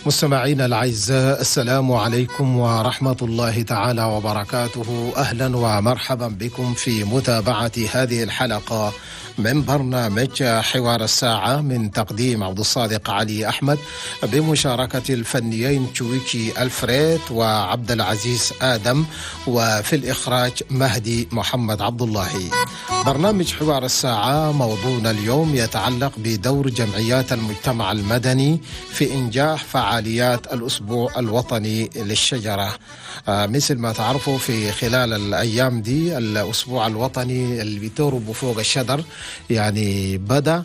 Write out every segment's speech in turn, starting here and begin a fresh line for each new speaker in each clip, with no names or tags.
مستمعينا الأعزاء، السلام عليكم ورحمة الله تعالى وبركاته. أهلا ومرحبا بكم في متابعة هذه الحلقة من برنامج حوار الساعة من تقديم عبد الصادق علي أحمد بمشاركة الفنيين تشويكي ألفريد وعبد العزيز آدم، وفي الإخراج مهدي محمد عبد الله. برنامج حوار الساعة موضوعنا اليوم يتعلق بدور جمعيات المجتمع المدني في إنجاح فعاليات الأسبوع الوطني للشجرة. مثل ما تعرفوا، في خلال الأيام دي الأسبوع الوطني اللي بيتربوا فوق الشجر يعني بدأ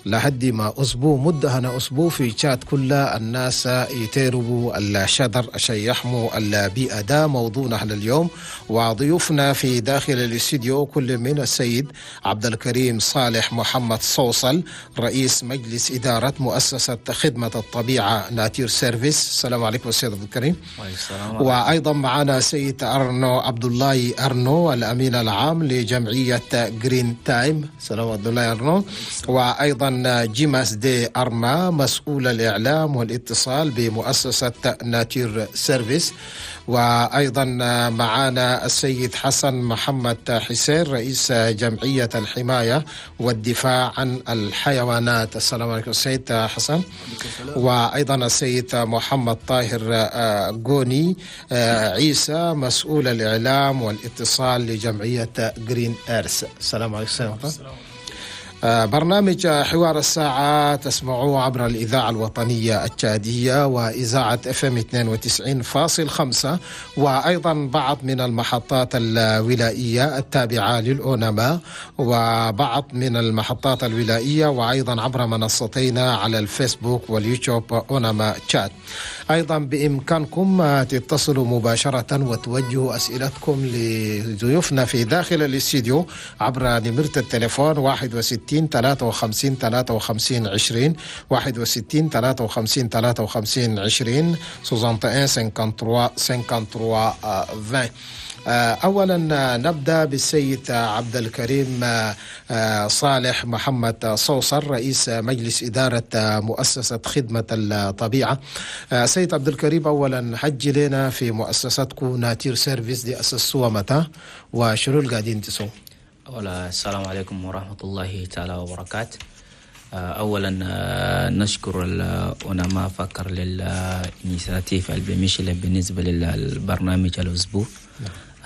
لحد ما أسبوع مدة هنا أسبوع في تشاد كل الناس يتيربوا الشجر عشان يحموا البيئة. ده موضوعنا اليوم، وضيوفنا في داخل الاستديو كل من السيد عبد الكريم صالح محمد صوصل، رئيس مجلس إدارة مؤسسة خدمة الطبيعة Nature Service. السلام عليكم السيد عبد الكريم.
السلام.
وأيضا معنا سيد أرنو عبد الله أرنو، الأمين العام لجمعية Green Time. السلام عبد الله أرنو. وأيضا جيماس دي أرما، مسؤول الإعلام والاتصال بمؤسسة Nature Service. وأيضا معنا السيد حسن محمد حسين، رئيس جمعية الحماية والدفاع عن الحيوانات. السلام عليكم السيد حسن. وأيضا السيد محمد طاهر غوني عيسى، مسؤول الإعلام والاتصال لجمعية Green Earth. السلام عليكم سيد. برنامج حوار الساعة تسمعوه عبر الإذاعة الوطنية التشادية وإذاعة FM 92.5، وأيضا بعض من المحطات الولائية التابعة للأونما وبعض من المحطات الولائية، وأيضا عبر منصتينا على الفيسبوك واليوتيوب أونما تشاد. أيضا بإمكانكم تتصلوا مباشرة وتوجهوا أسئلتكم لضيوفنا في داخل الاستديو عبر نمرة التليفون 61 53 53 20، 61 53 53 20، 61 53 53 20. أولا نبدأ بالسيد عبد الكريم صالح محمد صوصر، رئيس مجلس إدارة مؤسسة خدمة الطبيعة. سيد عبد الكريم، أولا حجي لنا في مؤسستكم Nature Service دي، أسسوها متى وشنو اللي قاعدين تسووا؟
أولا السلام عليكم ورحمة الله تعالى وبركاته. أولا نشكر الأونما فكر لل initiative اللي بالنسبة للبرنامج الأسبوع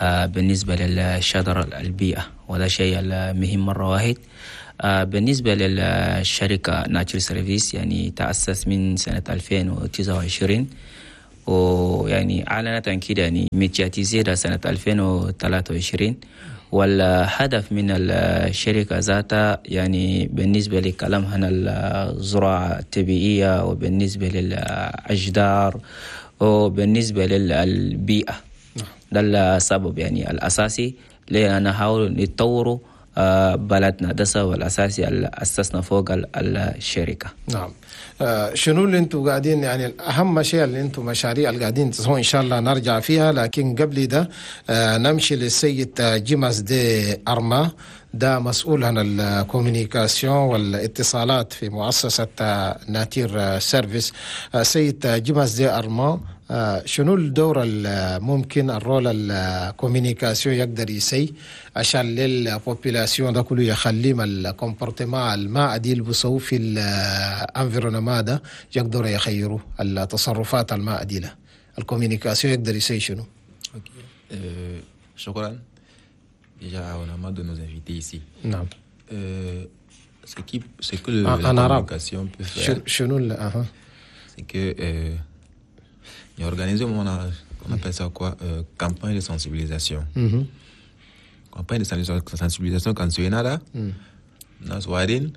بالنسبة للشجر البيئة، وهذا شيء مهم مرة واحد. بالنسبة للشركة Nature Service، يعني تأسس من سنة 2029، ويعني أعلنت عن كده يعني médiatisé سنة 2023. والهدف من الشركة ذاتها يعني بالنسبة لكلام هنا الزراعة الطبيعية وبالنسبة للأشجار وبالنسبة للبيئة. ده السبب يعني الأساسي لأن نحاول نطوروا بلدنا. ده السبب الأساسي اللي أسسنا فوق الشركة.
نعم، شنو اللي انتم قاعدين، يعني اهم شيء اللي انتم مشاريع اللي قاعدين تسووا، ان شاء الله نرجع فيها، لكن قبل ده نمشي للسيد جيماس دي ارما، ده مسؤول عن ال communication والاتصالات في مؤسسة Nature Service. سيد جيماس دي ارما، شنو الدور الممكن ال rôle ال communication يقدر يسي عشان لل population ده كله يخليه ال comportement الما عديل بسوي في ال environnement ده يقدروا يخيروا التصرفات الما عديلة؟ ال communication يقدر يسي شنو؟
شكرا déjà à Onama de nous inviter ici. Ce que la
en arabe.
Communication peut faire,
شنو أها.
C'est que il a organisé, on appelle ça quoi, campagne de sensibilisation. Campagne de sensibilisation quand tu es là, ناس واعدين,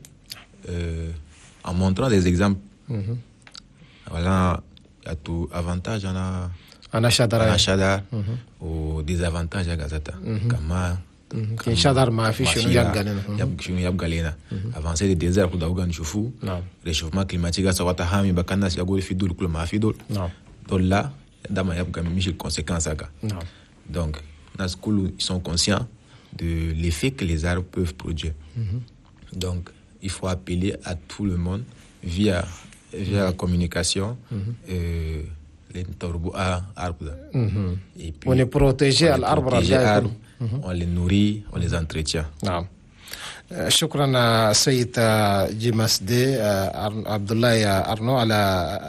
en montrant des exemples. Voilà, il y a tout avantage en
أنا شجرة
أنا شجر و désavantage ذاتها كما
كان شجر ما في شنو يبقى لنا.
يبقى شنو يبقى لنا avancée des déserts كل ده نشوفوه. Réchauffement climatique سواء تهامي بكان الناس يقول في دول كل ما في دول دول لا ده ما يبقى مش ال conséquences هكا. Donc الناس كل ils sont conscients de l'effet que les arbres peuvent produire. Donc il faut appeler à tout le monde via Via la communication, arbre.
Et puis, on est protégé à l'arbre.
On les nourrit, on les entretient.
نعم. شكرا السيد جيمس دي عبد الله أرنو على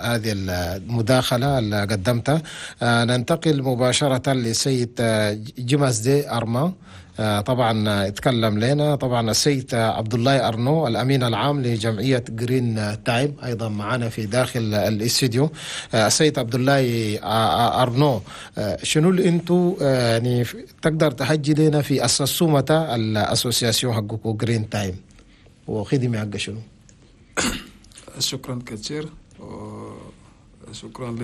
هذه المداخلة اللي قدمتها. ننتقل مباشرة للسيد جيمس دي أرما. طبعا اتكلم لنا طبعا السيد عبد الله أرنو الأمين العام لجمعية Green Time أيضا معنا في داخل الاستديو. السيد عبد الله أرنو، شنو اللي انتو يعني تقدر تحجي لنا في أسسومة ال association حقكم Green Time وخدمة حق شنو؟
شكرا كثير، شكرا ل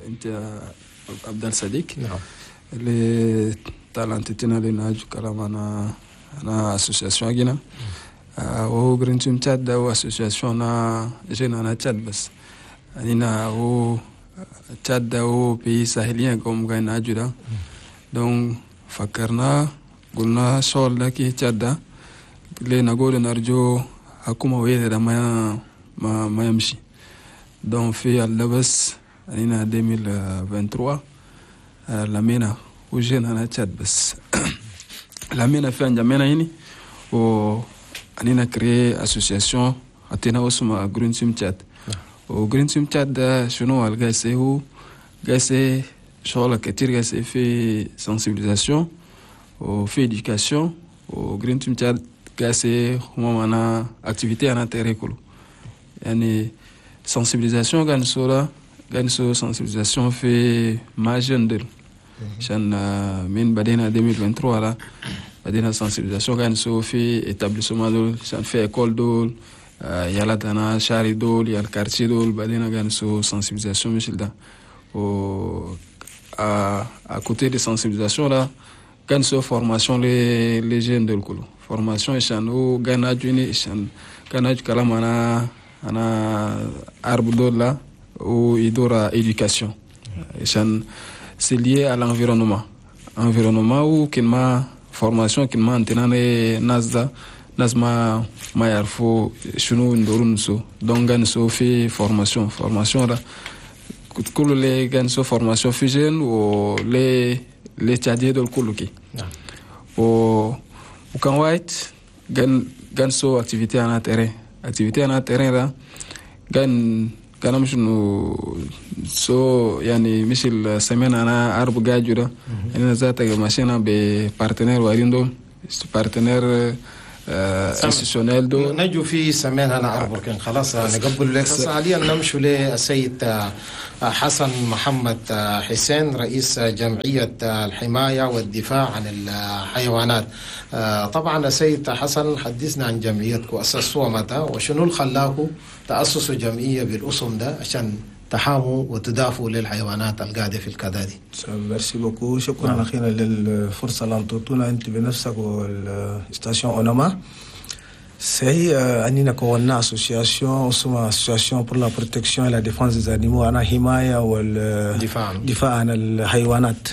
انت عبد الصديق.
نعم.
اللي تالانتنا لنا كلام انا association جينا وهو Green Team تشاد، هو association جينا انا تشاد، بس اننا هو تشاد هو pays sahélien comme قاعدين ناجو. donc فكرنا قلنا شغل ده كي تشاد ليه نقول نرجو حكومة وين ده ما يمشي. donc في اللبس اننا 2023 لمينا وجينا انا تشاد، بس لمينا في انجمينا هني و انينا créé association عطينا اسمها Green Team تشاد. و Green Team تشاد ده شنو الجايسي؟ هو جايسي شغل كتير، جايسي في sensibilisation وفي éducation. و Green Team تشاد جايسي هما معنا activité انا terrain كله، يعني sensibilisation كان صورة كان سو sensibilisation في مع jeunes ديل، عشان من بدينا 2023 لا بدينا sensibilisation كان سو في établissement دول، عشان في école دول، يلا تنا شاري دول يا ال quartier دول، بدينا كان سو sensibilisation مش ده. و à côté de sensibilisation là كان سو formation les jeunes دول كله formation، عشان هو كان اجوني عشان كان اج كلام انا arbre دول لا و يدور éducation، عشان c'est lié à l'environnement، environnement و كلمة formation كلمة انتنا ناس ده ناس ما يعرفوا شنو ندورو نسو. donc نسو في formation ده كل اللي كان سو formation في jeunes و les tchadiens دول كله كي. و وكان وايت كان سو activité انا terrain، activité انا terrain ده كان مش انه سو يعني مش السمين انا arbre جاجو ده، يعني ذات ماشينا ب partenaire وارين دول partenaire institutionnel دول.
نجو في سمين انا arbre كان خلاص نقبل لك. حاليا نمشي للسيد حسن محمد حسين رئيس جمعية الحماية والدفاع عن الحيوانات. طبعا السيد حسن، حدثنا عن جمعيتكم، أسسوها متى وشنو اللي خلاكم تأسسوا جمعية بالاسم ده عشان تحاموا وتدافعوا للحيوانات القاعدة في الكدادي؟
merci beaucoup، شكرا. اخيرا للفرصه اللي انطوتونا انت بنفسك وال station اونما. C'est أننا كونا association اسمها association pour la protection et la défense des animaux، أنا حماية
والدفاع
دفاع عن الحيوانات.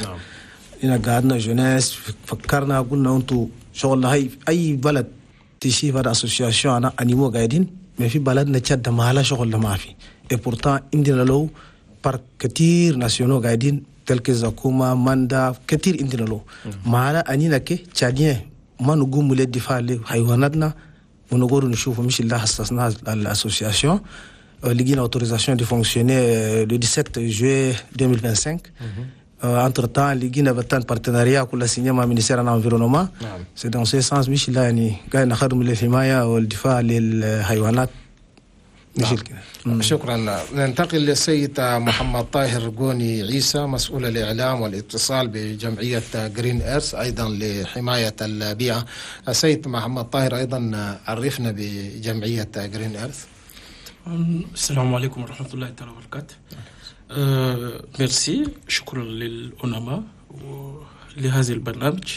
إنا قعدنا jeunesse فكرنا قلنا أنتو شغل هاي أي بلد تشي هذا association أنا animaux قاعدين، ما في بلدنا تشد ما لها شغل ما في. et pourtant عندنا لو parcs كتير nationaux قاعدين tel que زاكوما ماندا كتير عندنا لو ما لها أنينا كي tchadiens ما نقوم للدفاع لحيواناتنا ونقول نشوف مش اللي حسسنا ال association. لقينا autorisation de fonctionner le 17 juillet 2025. entre temps لقينا بتان partenariat كل signé مع ministère l'environnement. C'est dans ce sens مش لا يعني قاعد نخدم للحمايه والدفاع للحيوانات مش كده.
شكرا. ننتقل للسيد محمد طاهر قوني عيسى مسؤول الإعلام والاتصال بجمعية Green Earth أيضا لحماية البيئة. السيد محمد طاهر، أيضا عرفنا بجمعية Green Earth.
السلام عليكم ورحمة الله تعالى وبركاته. ميرسي، شكرا للأونما لهذا البرنامج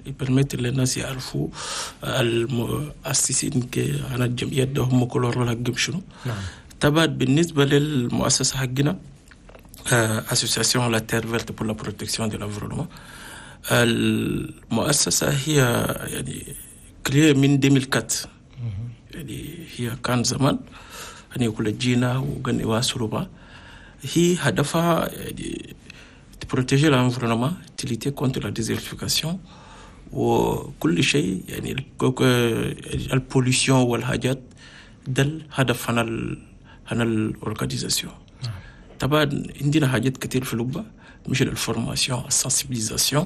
ي permettre للناس يعرفوا المؤسسين عن الجمعيات ده هم كل rôle حقهم شنو. طبعا بالنسبة للمؤسسة حقنا Association La Terre Verte pour la protection de l'environnement، المؤسسة هي يعني créée من 2004، يعني هي كان زمان هني كل جينا وقن يواصلوا با هي هدفها protéger l'environnement, lutter contre la désertification وكل شيء، يعني ال pollution والحاجات ده الهدف هنا ال organisation. طبعا عندنا حاجات كتير في لبة مثل ال formation، ال sensibilisation،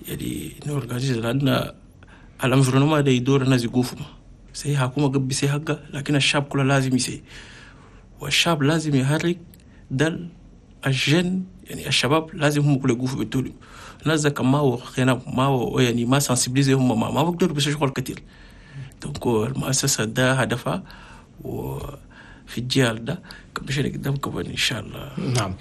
يعني ن organiser لأن ال environnement ده يدور الناس يقوفوا سي حكومة قبل سي حقه، لكن الشعب كله لازم يسي، والشعب لازم يحرك ده ال jeunes، يعني الشباب لازم هم كله يقوفوا بالتولي. الناس ده ما هو ما هو يعني ما sensibilisés هم ما بقدروا بس شغل كتير. donc المؤسسة ده هدفها وفي الجيل ده مشينا قدام كمان إن شاء الله.
نعم،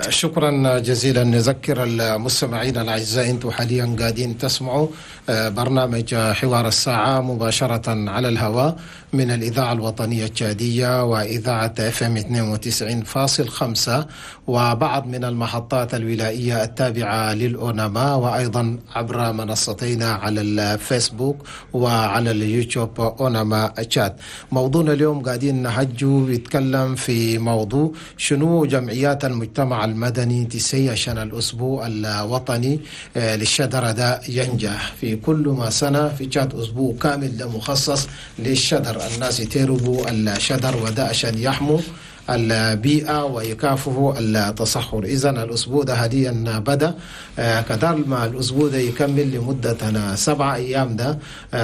شكرا جزيلا. نذكر المستمعين الأعزاء أنتم حاليا قاعدين تسمعوا برنامج حوار الساعة مباشرة على الهواء من الإذاعة الوطنية التشادية وإذاعة FM 92.5 وبعض من المحطات الولائية التابعة للأوناما، وأيضا عبر منصتينا على الفيسبوك وعلى اليوتيوب أوناما تشاد. موضوعنا اليوم قاعدين نهجو بيتكلم في موضوع شنو جمعيات المجتمع المدني تسي عشان الأسبوع الوطني للشجرة ده ينجح. في كل ما سنة في تشاد أسبوع كامل ده مخصص للشجر، الناس يتربوا الشجر وده عشان يحموا البيئة ويكافحوا التصحر. إذن الأسبوع ده حاليا بدأ، كدار ما الأسبوع ده يكمل لمدة 7 أيام ده.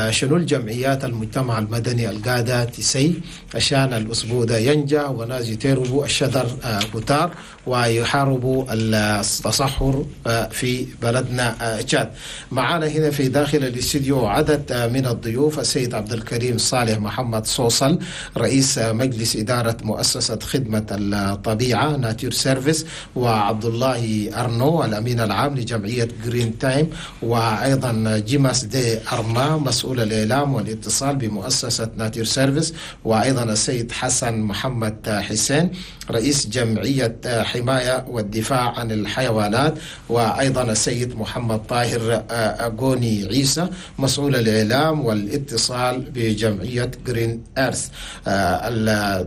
شنو الجمعيات المجتمع المدني القادة تسي عشان الأسبوع ده ينجح وناس يتربوا الشجر كتار ويحاربوا التصحر في بلدنا تشاد. معانا هنا في داخل الاستديو عدد من الضيوف: السيد عبد الكريم صالح محمد صوصل رئيس مجلس إدارة مؤسسة خدمة الطبيعة Nature Service، وعبد الله أرنو الأمين العام لجمعية Green Time، وأيضا جيماس دي أرما مسؤول الإعلام والاتصال بمؤسسة Nature Service، وأيضا السيد حسن محمد حسين رئيس جمعية حماية والدفاع عن الحيوانات، وأيضا السيد محمد طاهر أغوني عيسى مسؤول الإعلام والاتصال بجمعية Green Earth.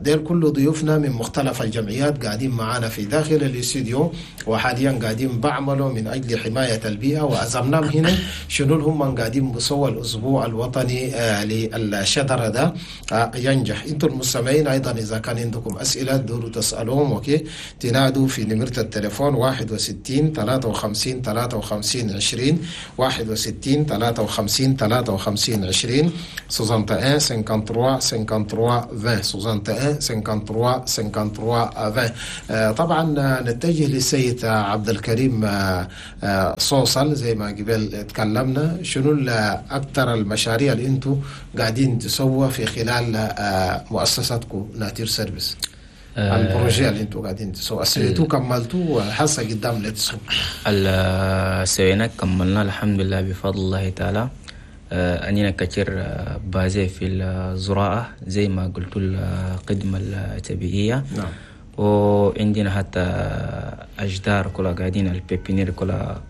دير كل ضيوفنا من مختلف الجمعيات قاعدين معانا في داخل الاستديو، وحاليا قاعدين بعملوا من أجل حماية البيئة، وأزمناهم هنا شنو هم قاعدين بسوى الأسبوع الوطني للشجرة ده ينجح. انتم المستمعين أيضا إذا كان عندكم أسئلة دوروا تسألوهم، okay تنادوا في نمرة التليفون 61 53 53 20 61 53 53 20 61 53 53 20 61 53 53 20. طبعا نتجه للسيد عبد الكريم صوصل، زي ما قبل تكلمنا شنو أكثر المشاريع اللي انتم قاعدين تسووا في خلال مؤسستكم Nature Service، ال projet اللي انتم قاعدين تسووا سويتوه كملتوه وحاسه قدام لتسووا؟
سوينا كملنا الحمد لله بفضل الله تعالى. أننا كثير basé في الزراعة زي ما قلت الخدمة الطبيعية.
نعم.
وعندنا حتى أشجار كلها قاعدين ال pépinière كلها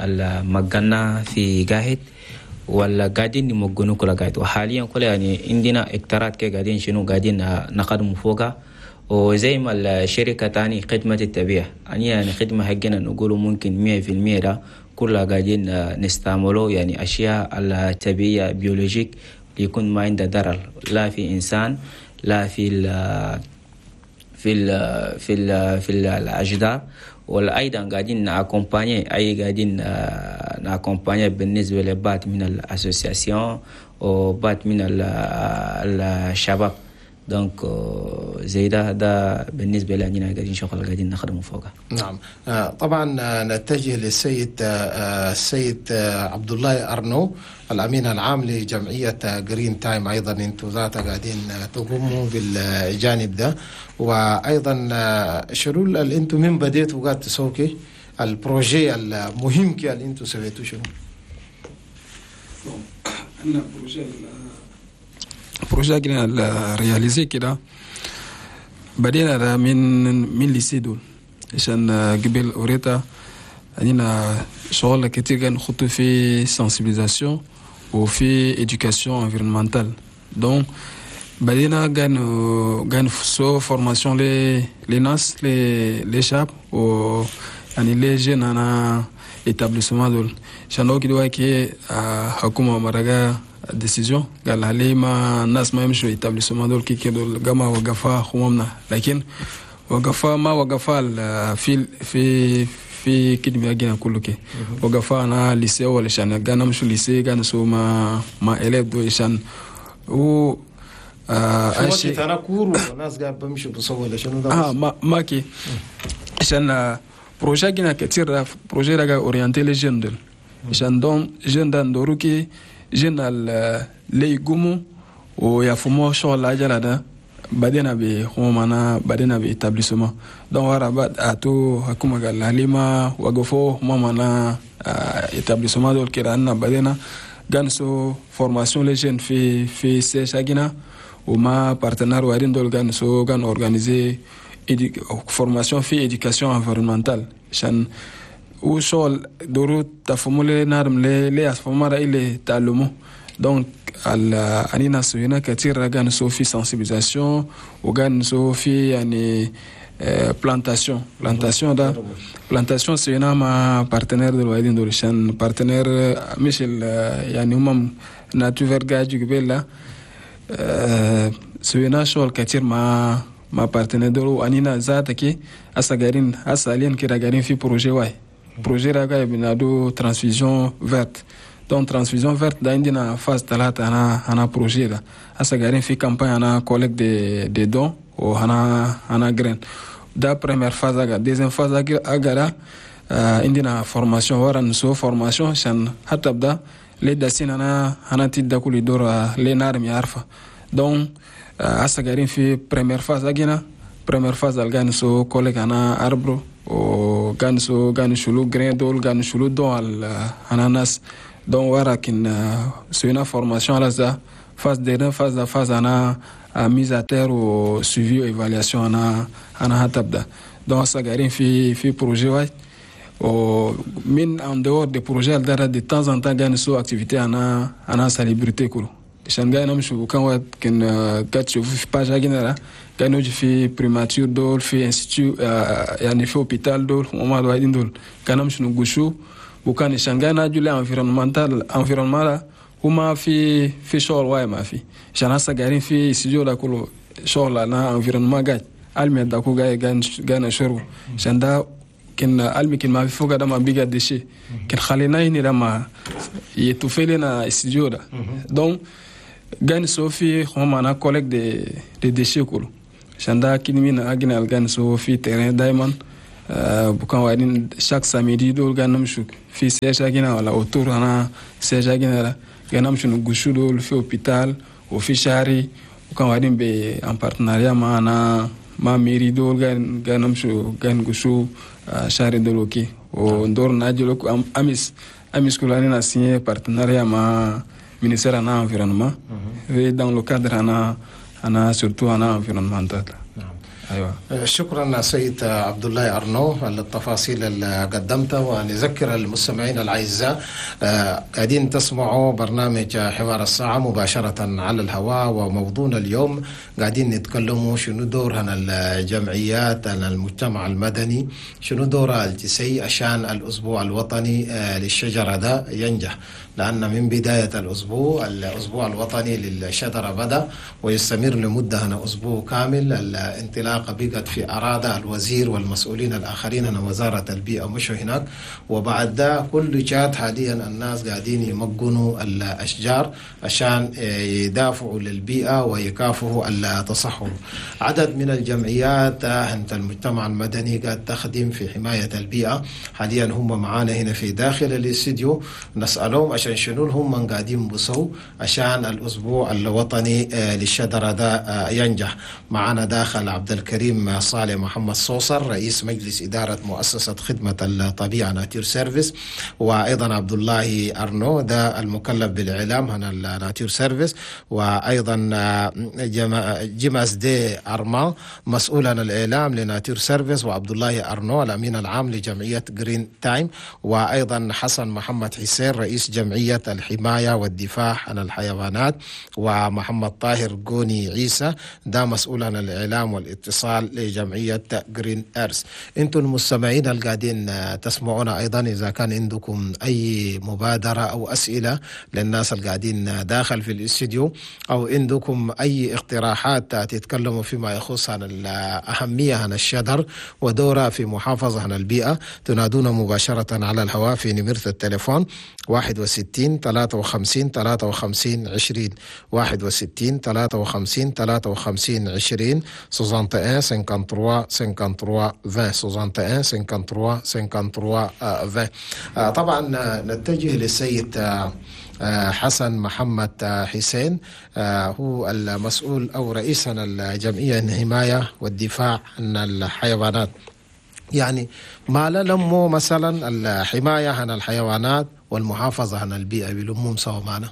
المجنة في قاهد ولا قاعدين نمجنوا كلها قاعد، وحاليا كلها يعني عندنا اكترات كي قاعدين شنو قاعدين نقدم فوقها. وزي ما الشركة تاني خدمة الطبيعة يعني خدمة حقنا نقوله ممكن 100% ده كلها قاعدين نستعمله يعني أشياء الطبيعية biologique يكون ما عنده ضرر لا في إنسان لا في ال في ال في ال في الأشجار. وأيضا قاعدين ن accompagner أي قاعدين ن accompagner بالنسبة لبعض من ال associations وبعض من الشباب. donc زي ده بالنسبة لنا قاعدين شغل قاعدين نخدمه فوقها.
نعم. طبعا نتجه للسيد السيد عبد الله أرنو الأمين العام لجمعية Green Time، أيضا أنتم ذاته قاعدين تقوموا بالجانب ده، وأيضا شنو اللي أنتم من بديتوا قاعد تسوكي ال projet المهم كي اللي أنتم سويتوا شنو؟
أنا projet كده réalisé كده بدينا من lycée دول عشان قبل أوريتا عندنا شغل كتير كان نخطو في sensibilisation وفي éducation environnementale. donc بدينا كان سو formation les ناس les شاب و يعني les jeunes انا établissement دول عشان كده كي حكومة مرقا décision قال عليه ما الناس ما يمشوا établissement دول كي كده جماعة وقفا خممنا لكن وقفا ما وقفا في في في كده بيجينا كله كي وقفا انا lycée ولا عشان كان نمشوا lycée كان سو ما élèves دول عشان و
في وقت انا cours وناس قاعد بمشوا بصور ولا شنو ده
ما كي عشان projet جينا كتير projet راجع orienté les jeunes دول عشان donc jeunes ده ندورو كي jeunes اللي يقوموا ويفهموا شغل العجلة ده بعدين بهم بعدين ب établissement donc ورا بعد اتو حكومة قال لما وقفوا هم معنا établissement دول كده أنا بعدين كان سو formation les jeunes في CH جينا وما partenaires وارين دول كان سو كان organiser formation في éducation environnementale عشان وشغل دورو تفهموا لي نارم لي لي أفهموا رأي لي تعلموا donc أنينا سوينا كثير كان سو في sensibilisation وكان سو في يعني plantation ده plantation سوينا مع partenaire دول وايدين دول عشان partenaire مش يعني هم Nature Verte قاعد قبل سوينا شغل كثير مع partenaire دول وأنينا ذاتك هسه قاعدين هسه حاليا كده قاعدين في projet واي projet راجع بنادو transfusion verte donc transfusion verte ده عندنا phase ثلاثة أنا projet ده هسه قاعدين في campagne أنا collecte de dons وهنا graines ده première phase أجا deuxième phase أجا عندنا formation ورا نسو formation عشان حتى بدا لي داسين أنا تيدا كل دور لي نارم يعرفه donc هسه قاعدين في première phase أجينا première phase ألقى نسو collecte أنا arbre وكان سو كان شلو graines دول كان شلو don أنا ناس donc ورا كن سوينا formation على ذا phase dernière phase دا phase أنا mise à terre و suivi و évaluation أنا هتبدا donc هسه قاعدين في projet واحد ومن en dehors des projets ده de temps en temps كان سو activité أنا salubrité كله عشان قاعد نمشوا كان وقت كان قاعد تشوف في page هنا كان نوجي في primature دول في institut يعني في hôpital دول وما الواحدين دول كان نمشوا نقشوا وكان عشان قاعد ناجوا ل environnemental environnement هما في شغل واي ما في عشان هسه قاعدين في استوديو ده كله شغل انا environnement قاعد المي داكو قاعد قاعد نشرب عشان ده كان المي كان ما في فوق ده ما بيجا déchets كان خلينا هنا ده ما يتوفي لنا استوديو ده donc قاعد نسوي في هم انا collecte des déchets كله عشان ده كده من اجنا قاعد نسوي في terrain دايما بكون وعدين chaque samedi دول قاعد نمشوا في CH هنا ولا autour انا CH هنا قاعد نمشوا نقشوا دول في hôpital وفي شاري وكان وعدين ب en partenariat مع انا مع mairie دول قاعد نمشوا قاعد نقشوا شاري دول وكي وندور ناجلو امس كلنا signé partenariat مع ministère انا environnement et dans le cadre انا surtout انا environnemental.
أيوة. شكرا سيد عبد الله أرنو على التفاصيل اللي قدمتها، ونذكر المستمعين الأعزاء قاعدين تسمعوا برنامج حوار الساعة مباشرة على الهواء، وموضوعنا اليوم قاعدين نتكلموا شنو دور هنا الجمعيات المجتمع المدني، شنو دور الجسي عشان الأسبوع الوطني للشجرة ده ينجح، لأن من بداية الأسبوع الوطني للشجرة بدأ ويستمر لمدة هنا أسبوع كامل. الانطلاق بقت في أرادة الوزير والمسؤولين الآخرين هنا وزارة البيئة مشوا هناك، وبعد ده كل جات حاليا الناس قاعدين يمجنوا الأشجار عشان يدافعوا للبيئة ويكافحوا التصحر. عدد من الجمعيات عند المجتمع المدني قاعد تخدم في حماية البيئة، حاليا هم معانا هنا في داخل الاستديو، نسألهم عشان شنو هم من قاعدين بصوا عشان الأسبوع الوطني للشجرة ده ينجح. معانا داخل عبد الكريم الكريم صالح محمد صوصر رئيس مجلس إدارة مؤسسة خدمة الطبيعة Nature Service، وأيضا عبد الله أرنو ده المكلف بالإعلام هنا ال Nature Service، وأيضا جيماس دي أرمان مسؤول عن الإعلام ل Nature Service، وعبد الله أرنو الأمين العام لجمعية Green Time، وأيضا حسن محمد حسين رئيس جمعية الحماية والدفاع عن الحيوانات، ومحمد طاهر جوني عيسى ده مسؤول عن الإعلام والاتصال لجمعية Green Earth. انتم المستمعين القاعدين تسمعونا أيضا، إذا كان عندكم أي مبادرة أو أسئلة للناس القاعدين داخل في الاستديو، أو عندكم أي اقتراحات تتكلموا فيما يخص عن الأهمية عن الشجر ودوره في محافظة عن البيئة، تنادونا مباشرة على الهواء في نمرة التليفون 61 53 53 20، 61 53 53 20، 61 53 53 20، 61 53 53 20. طبعا نتجه للسيد حسن محمد حسين، هو المسؤول أو رئيس الجمعية الحماية والدفاع عن الحيوانات. يعني ما لموا مثلا الحماية عن الحيوانات والمحافظة عن البيئة بلمهم سوا معنا.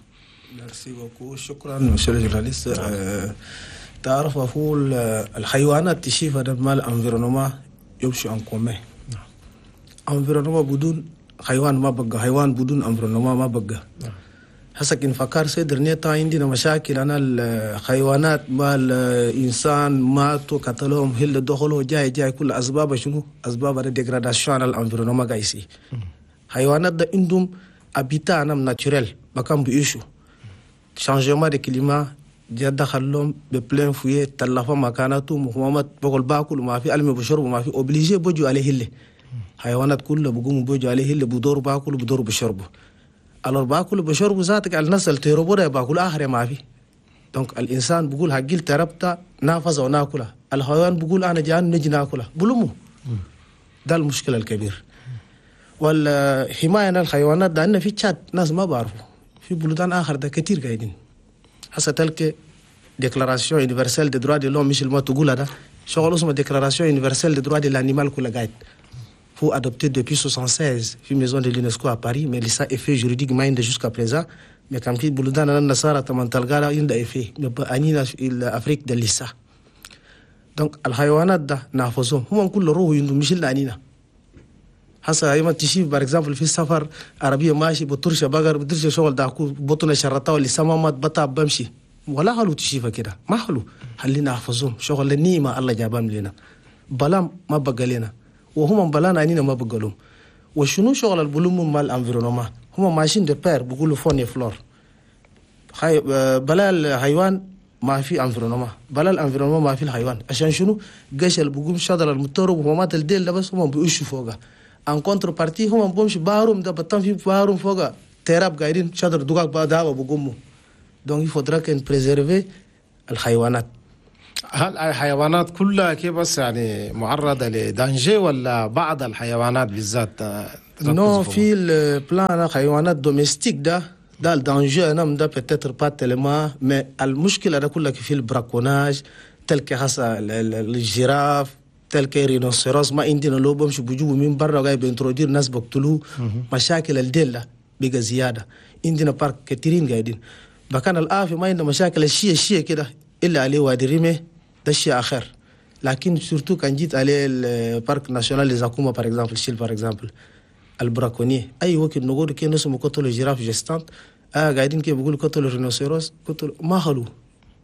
merci beaucoup، شكرا monsieur le journaliste. تعرف هو الحيوانات تشيف هذا مال environnement يمشي en commun. environnement بدون حيوان ما بقى، حيوان بدون environnement ما بقى. هسه كن فكر ces derniers temps عندنا مشاكل انا الحيوانات مع الانسان ماتوا قتلوهم هل دخلوا جاي جاي كل اسباب شنو؟ اسباب ال dégradation على ال environnement قايسي. حيوانات ده عندهم habitat نم naturel مكان بيعيشوا. changement de climat جا دخلهم ب plein fouet تلفوا مكاناتهم وهم بقول باكل وما في ألم بشرب وما في obligé بوجوا عليه اللي حيوانات كلها بقوموا بوجوا عليه اللي بدور باكل وبدور بشربوا. alors باكل بشربوا ذاتك على الناس اللي تهربوا ده باكل آخر ما في. donc الإنسان بقول هجيل تربتا نافذ وناكلها، الحيوان بقول أنا جان نجي ناكلها بلومه. ده المشكلة الكبير. والحماية الحيوانات ده عندنا في تشاد ناس ما بعرفوا، في بلدان آخر ده كتير قاعدين. هسه تلك déclaration universelle des droits de l'homme مش ما تقول هذا شغل اسمه déclaration universelle des droits de l'animal كل قاعد هو adopté depuis 76 في maison de l'UNESCO à Paris، mais لسه effet juridique ما عنده jusqu'à présent. mais كان في بلدان النصارى تمن تلقى عنده effet انينا ال Afrique ده لسه. donc الحيوانات ده نحفظهم هم كل روح عندهم مش الا انينا. هسه ايما تشيف par exemple في السفر عربية ماشي بترشه بقر بترشه شغل داكو بطنه شرطه ولا سما ما بتعب بمشي ولا حلو تشيفه كده ما حلو. خلينا نحفظهم شغل النعمة الله جابهم لنا بلام ما بقى لنا وهم بلانا انينا ما بقى لهم. وشنو شغل البلوم مال environnement هم ماشيين de pair بيقولوا faune flore. بلا الحيوان ما في environnement، بلا ال environnement ما في الحيوان. عشان شنو قش اللي بقوم شجر المترب وما الديل بس هم بيعيشوا فوقها. en contrepartie هم بمشي بارهم ده بطن في بارهم فوق تراب قاعدين شجر دقاق بعدها بقوموا. donc il faudra qu'on préserve الحيوانات.
هل الحيوانات كلها كيف بس يعني معرضة ل danger ولا بعض الحيوانات بالذات؟
non في ال plan حيوانات domestiques ده ال danger انا ده peut-être pas tellement، mais المشكلة ده كلها في ال braconnage تلك هسه ال girafe تلك rhinocéros ما عندنا لو بمشي بجيبوا من برا جاي ب introduire ناس بقتلوه. مشاكل الدلة بقى زيادة عندنا parc كثيرين قاعدين بكان الآفي ما عندنا مشاكل الشيء كده الا عليه وادي ريمي ده شيء اخر. لكن surtout كان جيت عليه ال parc national Zakouma par exemple شيل par exemple ال braconniers اي وقت نقول كي نسمو قتلوا girafe gestante قاعدين كي بيقولوا قتلوا rhinocéros قتلوا ما خلوا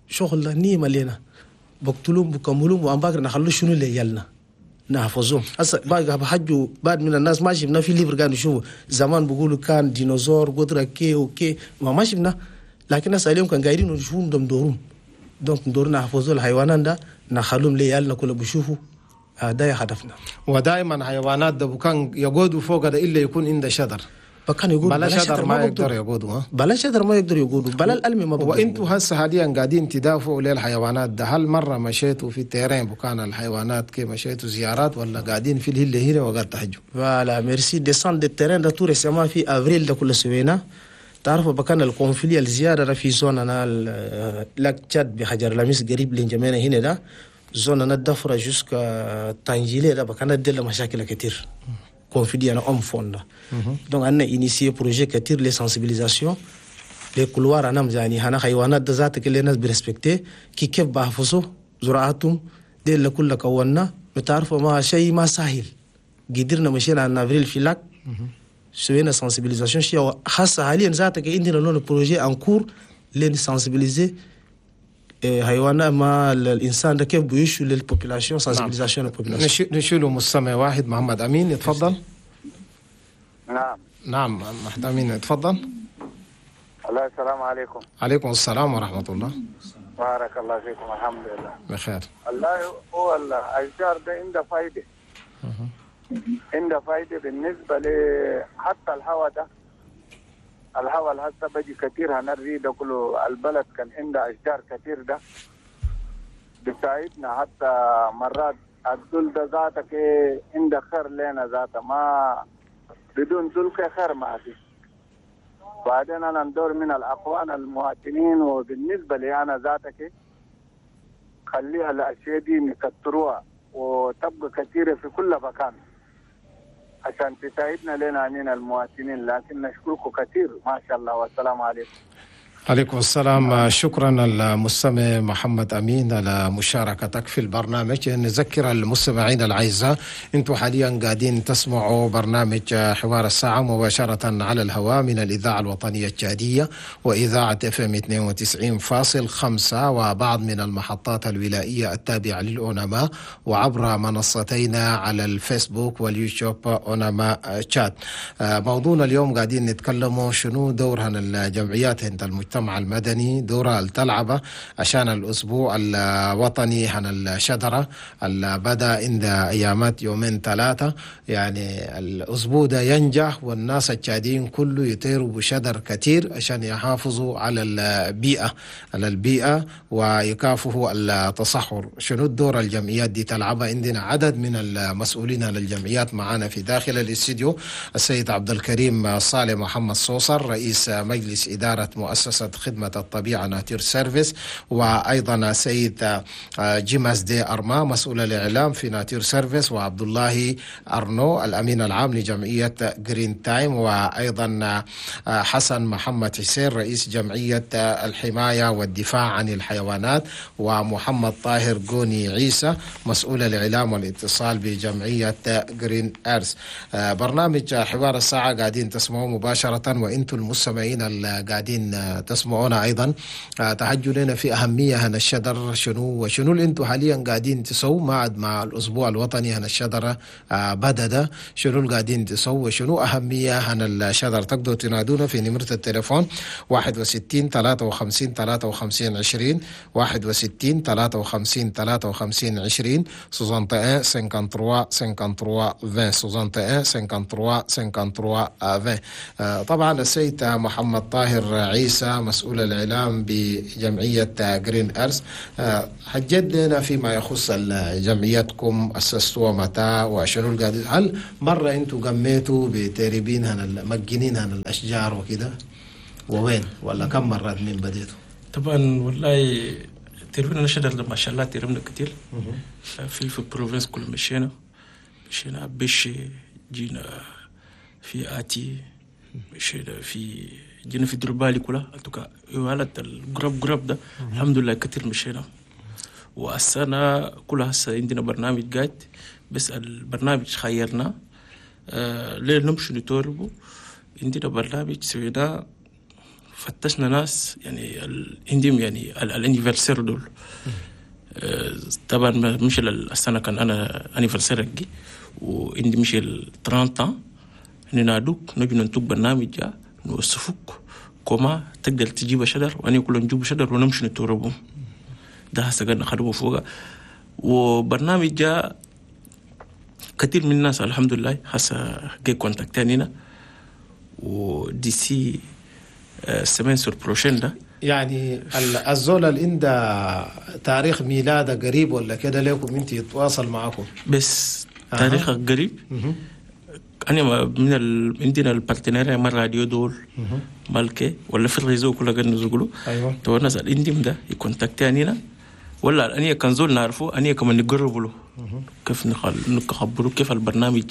شغل نيمه لنا بقتلوهم بكملوهم وأمباكر نخلو شنو اللي يلنا نحفظهم. هسه باقي بحجوا بعد من الناس ما شفنا في livre كانوا يشوفوا زمان بيقولوا كان ديناصور قدرة كي وكي ما شفنا، لكن هسه اليوم كان قاعدين نشوفهم دم دورهم. donc ندور نحفظوا الحيوانات ده نخلوهم ليالنا كله بيشوفوا ده هدفنا.
ودائما حيوانات ده كان يقعدوا فوق ده الا يكون عنده شجر
بكان يقول
بلا شجر ما يقدر يقعدوا،
بلا شجر ما يقدر يقعدوا، بلا الألم ما بقدر.
وانتوا هسه حاليا قاعدين تدافعوا للحيوانات ده، هل مرة مشيتوا في ال terrain بكان الحيوانات كي مشيتوا زيارات ولا قاعدين في الهله هنا وقاعد تحجوا؟
voilà merci descente de terrain ده tout récemment في افريل ده كل سوينا. تعرفوا بكان ال conflit الزيادة في zone انا lac Tchad بحجر لميس قريب لنجمينا هنا ده zone هنا الدفرة jusqu'à تانجيلي ده بكان ديل مشاكل كتير conflit هنا homme faune. Donc on a initié projet كتير les sensibilisation les couloirs انا يعني هنا حيوانات ده ذاتك اللي الناس ب respecter كي كيف بحفظوا زراعتهم ديل كل كونا بتعرفوا ما شيء ما سهل. قدرنا مشينا en avril في lac سوينا sensibilisation شيء خاصة حاليا ذاتك عندنا لون projet en cours لين sensibiliser حيوانات مع الانسان ده كيف بيشوا لل population sensibilisation لل population.
نشيله مستمع واحد، محمد امين يتفضل.
نعم.
نعم محمد امين يتفضل.
الله السلام عليكم.
عليكم السلام ورحمة الله.
بارك الله فيكم، الحمد لله
بخير.
الله هو الاشجار ده عنده فايده، عنده فايده بالنسبة ل حتى الهواء ده، الهواء اللي هسه بيجي كثير هنري ده كله، البلد كان عنده اشجار كثير ده بيساعدنا، حتى مرات الدول ده ذاتك عنده خير لنا ذاته، ما بدون دول خير ما في. بعدين انا ندور من الاخوان المواطنين، وبالنسبة لي انا ذاتك خليها الاشياء دي نكتروها وتبقى كثيرة في كل مكان عشان تساعدنا لنا عنينا المواطنين. لكن نشكركم كثير ما شاء الله، والسلام عليكم.
عليكم السلام. شكرا المستمع محمد أمين على مشاركتك في البرنامج. نذكر المستمعين الأعزاء أنتم حاليا قاعدين تسمعوا برنامج حوار الساعة مباشرة على الهواء من الإذاعة الوطنية التشادية وإذاعة FM 92.5 وبعض من المحطات الولائية التابعة للأونما، وعبر منصتينا على الفيسبوك واليوتيوب أونما تشاد. موضوعنا اليوم قاعدين نتكلموا شنو دورها الجمعيات عند المجتمع المدني، دورها التلعبة عشان الأسبوع الوطني عن الشجرة اللي بدأ عند أيامات يومين ثلاثة، يعني الأسبوع ده ينجح والناس التشاديين كله يطيروا بشجر كتير عشان يحافظوا على البيئة، على البيئة ويكافحوا التصحر. شنو الدور الجمعيات دي تلعبها؟ عندنا عدد من المسؤولين على الجمعيات معانا في داخل الاستديو، السيد عبد الكريم صالح محمد صوصر رئيس مجلس إدارة مؤسسة خدمة الطبيعة Nature Service، وأيضا سيد جيماس دي أرما مسؤول الإعلام في Nature Service، وعبد الله أرنو الأمين العام لجمعية Green Time، وأيضا حسن محمد حسين رئيس جمعية الحماية والدفاع عن الحيوانات، ومحمد طاهر جوني عيسى مسؤول الإعلام والاتصال بجمعية Green Earth. برنامج حوار الساعة قاعدين تسمعوه مباشرة، وإنتم المستمعين اللي قاعدين تسمعونا أيضا تحجوا لنا في أهمية هنا الشجر شنو، وشنو اللي انتم حاليا قاعدين تسووا مع الأسبوع الوطني هنا الشجرة بدأ ده، شنو اللي قاعدين تسووا وشنو أهمية هنا الشجر. تقدروا تنادونا في نمرة التليفون 61 53 53 20، 61 53 53 20، 61 53 53 20، 61 53 53 20. طبعا السيد محمد طاهر عيسى مسؤول الإعلام بجمعية Green Earth، حجد لنا فيما يخص جمعيتكم، أسستوها متى وشنو القاعد، هل مرة أنتم قميتوا بتربين هنا مجنين هنا الأشجار وكده، ووين ولا كم مرات من بديتوا؟
طبعا والله تربينا شجر ما شاء الله تربنا كتير في province كل مشينا بشي، جينا في آتي، مشينا في جينا في دربالي كلها اتوكا ولا الجروب جروب ده الحمد لله كتير مشينا. والسنة كلها هسه عندنا برنامج قاعد، بس البرنامج خيرنا ليه نمشي نتوربو. عندنا برنامج سويناه، فتشنا ناس يعني عندهم يعني ال anniversaire دول. طبعا مش السنة كان انا anniversaire حقي، وعندي مش ال 30 ننادوك نجي ننتج برنامج جا نوصفوك كما تقدر تجيب شجر، وانا كل نجيب شجر ونمشي نتوربو. ده هسه قاعد نخدمه فوق. وبرنامج جا كثير من الناس الحمد لله هسه جاي كونتاكتانينا، و d'ici semaine sur prochaine ده
يعني الزول اللي عنده تاريخ ميلاده قريب ولا كده لكم انت يتواصل معكم؟
بس تاريخ قريب. انا من عندنا ال partenariat مع راديو دول مالكي ولا في ال réseau كله قاعد نزقلو.
ايوه
تو الناس اللي عندهم ده يكونتاكتانينا، ولا أني كان زول نعرفه أني كمان نقرب له كيف نخبره كيف البرنامج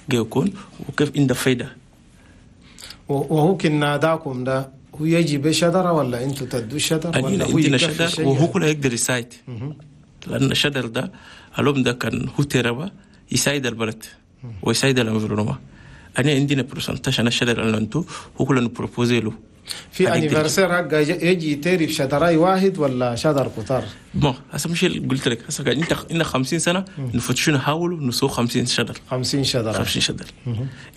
جاي يكون وكيف عنده فايدة. وهو كان ناداكم ده هو يجي بشجرة ولا أنتوا تدوا شجر ولا هو عندنا شجر وهو كله يقدر يساعد، لأن الشجر ده اليوم ده كان هو تربة يساعد البلد ويساعد ال environnement. أنا عندنا pourcentage أنا الشجر اللي أنتوا هو كله ن proposer له في anniversaire حق يجي تيري في شجراي واحد ولا شجر كتار؟ bon هسه مش قلت لك هسه انت إن 50 سنة نفتشوا نحاولوا نسوق 50 شجر 50 شجرة 50 شجر.